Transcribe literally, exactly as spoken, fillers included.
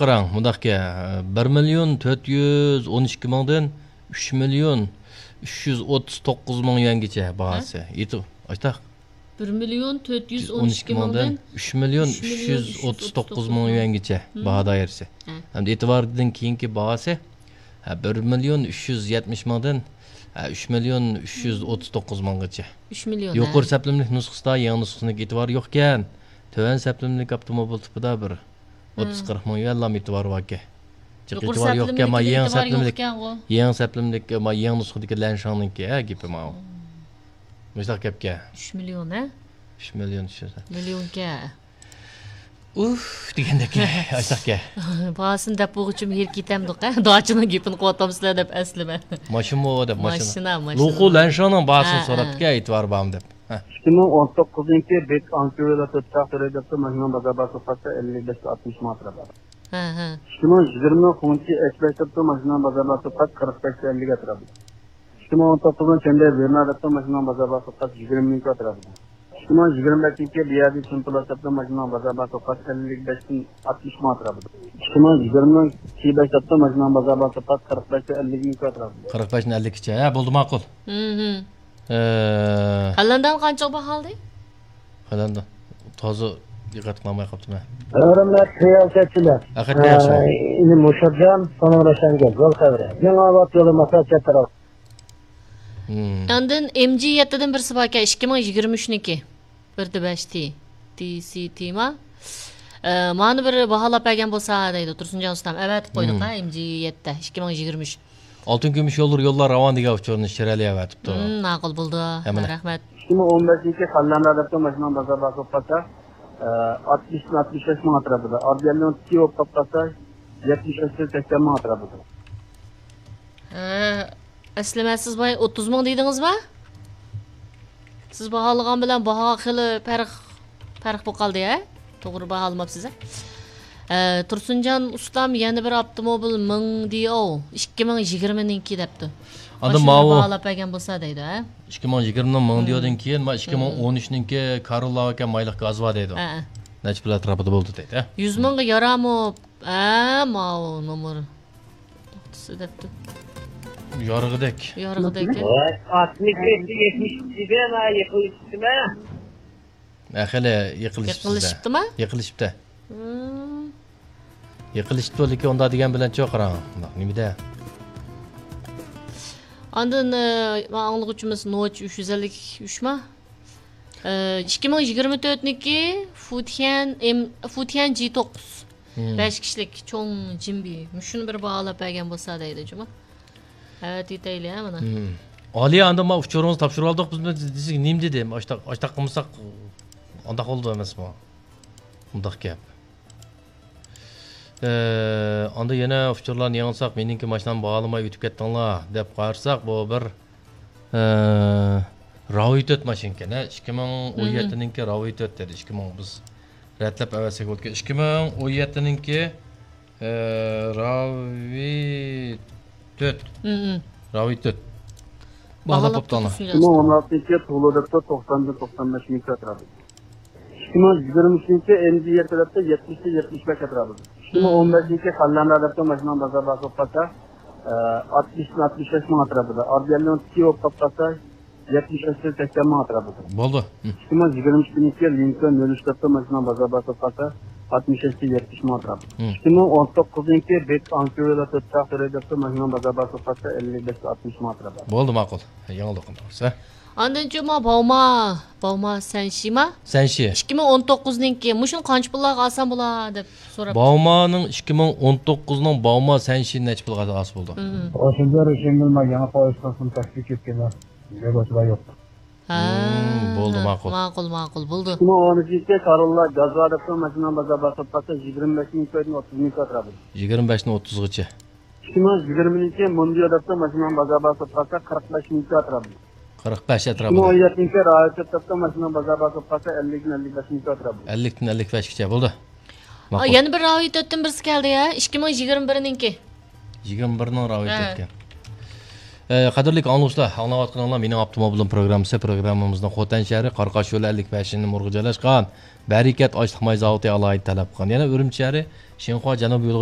قاراڭ، مۇنداقكەن، بىر مىليون تۆت يۈز ئون ئىككى مىڭدىن ئۈچ مىليون ئۈچ يۈز ئوتتۇز توققۇز مىڭ يۈەنگىچە باھاسى. ھە؟ ئاشتاق. بىر مىليون تۆت يۈز ئون ئىككى مىڭدىن ئۈچ مىليون ئۈچ يۈز ئوتتۇز توققۇز مىڭ يۈەنگىچە باھا دائىرىسى. ھە. ھەمدە ئېتىباردىن كېيىنكى باھاسى، ھە، بىر مىليون ئۈچ يۈز يەتمىش مىڭدىن، ھە، ئۈچ مىليون ئۈچ يۈز ئوتتۇز توققۇز مىڭغىچە. ئۈچ مىليون، ھە. يۇقىرى سەپلىمىلىك نۇسخىسىدا يېڭى نۇسخىسىنىڭكى ئېتىبارى يوقكەن. تۆۋەن سەپلىمىلىك ئاپتوموبىل تىپىدا بىر ئوتتۇز، ھە، قىرىق مىڭ يۈەنلا ئېتىبارى باركەن. جىق يۇقىرى ئېتىبارى يوقكەن، سەپلىمىلىككە ما يېڭى ئېتىبار سەپلىمىلىك، يوقكەنغۇ. يېڭى سەپلىمىلىك، ما يېڭى نۇسخىدىكى لەنشاڭنىڭكى، ھە، گېپى ماۋۇ. مم. مۇشۇنداق گەپكەن. ئۈچ مىليون، ھە؟ ئۈچ مىليون، ئۈچ يۈز. مىليونكەن. ئۇھ دېگەندەك، ئاشتاقكەن. باھاسىنى دەپ بولغۇچىمۇ ھېرىپ كېتەمدۇق، ھە؟ داچىنىڭ گېپىنى قىلىۋاتامسىلەر دەپ ئەسلىمە. ماشىنىمۇ دەپ، ماشىنا. ماشىنا، ماشىنا. لۇخۇ لەنشاڭنىڭ باھاسىنى، ھە، سوراپتىكەن، ھە. ئېتىبارى بارمۇ دەپ. ھە. ئىككى مىڭ ئون توققۇزىنچى بېك ئانكيۇلا تۆت چاق تۆلەي دەپتۇ، ماشىنىنىڭ بازار باھاسى قاچە؟ ئەللىك بەشتىن ئاتمىش مىڭ ئەتراپىدا. ھە، ھە. ئىككى مىڭ يىگىرمە خۇڭچى ئەچ بەش دەپتۇ، ماشىنىنىڭ بازار باھاسى قاچە؟ قىرىق بەشتىن ئەللىك ئەتراپىدا. ئىككى مىڭ ئون توققۇزنىڭ چەندە ۋېرنا دەپتۇ، ماشىنىنىڭ بازار باھاسى قاچە؟ يىگىرمە مىڭ ئەتراپىدا. ئىككى مىڭ يىگىرمە بەشىنچى بىيادى چىن پلاس دەپتۇ، ماشىنىنىڭ بازار باھاسى قاچە؟ ئەللىك بەشتىن ئاتمىش مىڭ ئەتراپىدا. ئىككى مىڭ يىگىرمە كى بەش دەپتۇ، ماشىنىنىڭ بازار باھاسى قاچە؟ قىرىق بەشتىن ئەللىك مىڭ ئەتراپىدا. قىرىق بەشتىن ئەللىككىچە. ھە، بولدى، ماقۇل. مم. ئە، خەلەندان قانچىغا باھالىدى؟ خەلەندان. تازا دىققەت قىلالماي قاپتىمەن. ھۆرمەتلىك رىياسەتچىلەر. ھەقىقەتەن ياخشى. ئە، ئىنى مۇشۇرجان، سونۇڭ روشەنگۈل، يول خەۋىرى. يېڭىئاۋات يولى، ماسا چەت تەرەپ. مم. ئاندىن ئېم جى يەتتىدىن بىرسى باركەن، ئىككى مىڭ يىگىرمە ئۈچنىڭكى. بىر دە بەش تى، تى سى تى ما؟ ئە، مانا بىر باھالاپ بەرگەن بولسا دەيدۇ، تۇرسۇنجان ئۇستام. ئەۋەتىپ قويدۇق، مم، ھە، ئېم جى يەتتە، ئىككى مىڭ يىگىرمە ئۈچ. ئالتۇن كۈمۈش يوللىرى، يوللار راۋان دېگەن ئۇچۇرنى شىرئەلى ئەۋەتىپتۇ. مم، ماقۇل بولدى. ھەممىنى. رەھمەت. ئىككى مىڭ ئون بەشىنچى خەللەندان دەپتۇ، ماشىنىنىڭ بازار باھاسى بولۇپ قالسا، ئە، ئاتمىشتىن ئاتمىش بەش مىڭ ئەتراپىدا. ئاربىيەلنىڭ تىكى بولۇپ قالسا، يەتمىش بەشتىن سەكسەن مىڭ ئەتراپىدا. ھە، ئەسلىمە سىز بايا ئوتتۇز مىڭ دېدىڭىزما؟ سىز باھالىغان بىلەن باھا خېلى پەرق، پەرق بولۇپ قالدى، ھە؟ توغرا باھالىماپسىز، ھە؟ ئە، تۇرسۇنجان ئۇستام يەنە بىر ئاپتوموبىل مىڭ دىئو، ئىككى مىڭ يىگىرمىنىڭكى دەپتۇ. ئاندىن ماشىنىنى ماۋۇ باھالاپ بەرگەن بولسا دەيدۇ، ھە؟ ئىككى مىڭ يىگىرمىنىڭ مىڭ دىئودىن كېيىن، ما، ئىككى مىڭ ئون ئۈچنىڭكى كاروللا ئاكا مايلىق گازى بار دەيدۇ. ھە، ھە. نەچچە پۇل ئەتراپىدا بولدى دەيدۇ، ھە؟ يۈز مىڭغا يارامۇ؟ ھە، ماۋۇ نومۇر. توختىسى دەپتۇ. يارىغۇدەك. يارىغۇدەك، ھە؟ ۋاي، ئاتمىش بەشتە يەتمىش ئۈچ ئىدى، ما، يىقىلىشىپتىمەن. ھە، خېلى يىقىلىشىپتۇ. يىقىلىشىپتىما؟ يىقىلىشىپتۇ. ھىم. يىقىلىشىپتۇ، لېكىن ئۇنداق دېگەن بىلەن چوق قاراڭ. نېمىدە؟ ئاندىن، ئە، مانا ئاڭلىغۇچىمىز نوچ ئۈچ يۈز ئەللىك ئۈچ ما؟ ئە، ئىككى مىڭ يىگىرمە تۆتنىڭكى فۇتيەن ئېم، فۇتيەن جى توققۇز. ھىم. بەش كىشىلىك چوڭ جىمبى. مۇشۇنى بىر باھالاپ بەرگەن بولسا دەيدۇ جۇما. ئەۋەتىۋېتەيلى، ھە، مانا. ھىم. ئالىيە، ئاندىن ما ئۇچۇرىڭىزنى تاپشۇرۇۋالدۇق بىز، دېسەك نېمە دېدى؟ ئاشتاق، ئاشتاق قىلمىساق ئانداق بولىدۇ ئەمەسمۇ؟ ئۇنداق گەپ. ئە، ئاندىن يەنە ئۇچۇرلارنى ياڭساق، مېنىڭكى ماشىنامنى باھالىماي ئۆتۈپ كەتتىڭلار دەپ قارىساق، بۇ بىر، ئە، راۋى تۆت ماشىنىكەن، ھە، ئىككى مىڭ ئون يەتتىنىڭكى راۋى تۆت دېدى، ئىككى مىڭ بىز رەتلەپ ئەۋەتسەك بولىدىكەن. ئىككى مىڭ ئون يەتتىنىڭكى، ئە، راۋى تۆت. مم، مم. راۋى تۆت. باھالاپ باھالاپ بوپتۇ ئانا. تۇرسۇن، ئىككى مىڭ ئون ئالتىنچى يىل تۇغۇلۇ دەپتۇ، توقساندىن توقسان بەش مىڭ ئەتراپىدا. ئىككى مىڭ يىگىرمە ئۈچىنچى ئېم جى يەتتە دەپتۇ، يەتمىشتىن يەتمىش بەش ئەتراپىدا. ئىككى مىڭ ئون بەشىنچى خەللەندە دەپتۇ، ماشىنىنىڭ بازار باھاسى بولۇپ قالسا، ئە، ئاتمىشتىن ئاتمىش بەش مىڭ ئەتراپىدا. ئاربىيەلنىڭ تىكى بولۇپ قالسا، يەتمىش بەشتىن سەكسەن مىڭ ئەتراپىدا. بولدى. ھىم. ئىككى مىڭ يىگىرمە ئىككىنچى يىل لىنكولن نۆل ئۈچ دەپتۇ، ماشىنىنىڭ بازار باھاسى بولۇپ قالسا، ئاتمىش بەشتىن يەتمىش مىڭ ئەتراپىدا. ھىم. ئىككى مىڭ ئون توققۇزىنچى بېك ئانكيۇلا تۆت چاق تۆلەي دەپتۇ، ماشىنىنىڭ بازار باھاسى بولۇپ قالسا، ئەللىك بەشتىن ئاتمىش مىڭ ئەتراپىدا. بولدى، ماقۇل. يېڭىلدۇق ئەمدى. ئاندىن جۇما باۋما، باۋما سەنشىما؟ سەنشى. ئىككى مىڭ ئون توققۇزنىڭكى، مۇشۇنى قانچە پۇللارغا ئالسام بولا دەپ سوراپ. باۋمانىڭ ئىككى مىڭ ئون توققۇزنىڭ باۋما سەنشىنى نەچچە پۇلغا ئالسا بولىدۇ؟ مم. ئاشۇنچە رۇشەنگۈل، ما يېڭى پويىز قىلسۇن، تەكلىپ كەتكەن. يولۇچىلار يوق. ھا، مم، بولدى، ماقۇل. ماقۇل، ماقۇل، بولدى. ئىككى مىڭ ئون ئۈچىنچى كاروللا گازۋا دەپتۇ، ماشىنىنىڭ بازار باھاسى پاتسا يىگىرمە بەش مىڭ كويدىن ئوتتۇز مىڭ ئەتراپىدا. يىگىرمە بەشتىن ئوتتۇزغىچە. ئىككى مىڭ يىگىرمىنىڭكى موندىيو دەپتۇ، ماشىنىنىڭ بازار باھاسى پاتسا قىرىق بەش مىڭ ئەتراپىدا. قىرىق بەش ئەتراپىدا. ئىككى مىڭ ئون يەتتىنچى راۋىچ دەپتۇ، ماشىنىنىڭ بازار باھاسى پاتسا ئەللىكتىن ئەللىك بەش مىڭ ئەتراپىدا. ئەللىكتىن ئەللىك بەشكىچە بولدى. ئا، ماقۇل. يەنە بىر راۋىتەتتىن بىرسى كەلدى يا، ئىككى مىڭ يىگىرمە بىرنىڭكى. يىگىرمە بىرنىڭ راۋىتەتكە. ئە، قەدىرلىك ئاڭلىغۇچىلار، ئاڭلاۋاتقىنىڭلار مېنىڭ ئاپتوموبىلىم پروگراممىسى. پروگراممىمىزنىڭ خوتەن شەھىرى قاراقاش يولى ئەللىك بەشىنچى نومۇرغا جايلاشقان بەرىكەت ئاشلىق ماي زاۋۇتى ئالاھىدە تەلەپ قىلغان. يەنە ئۈرۈمچى شەھىرى شىنخۇا جەنۇبىي يولىغا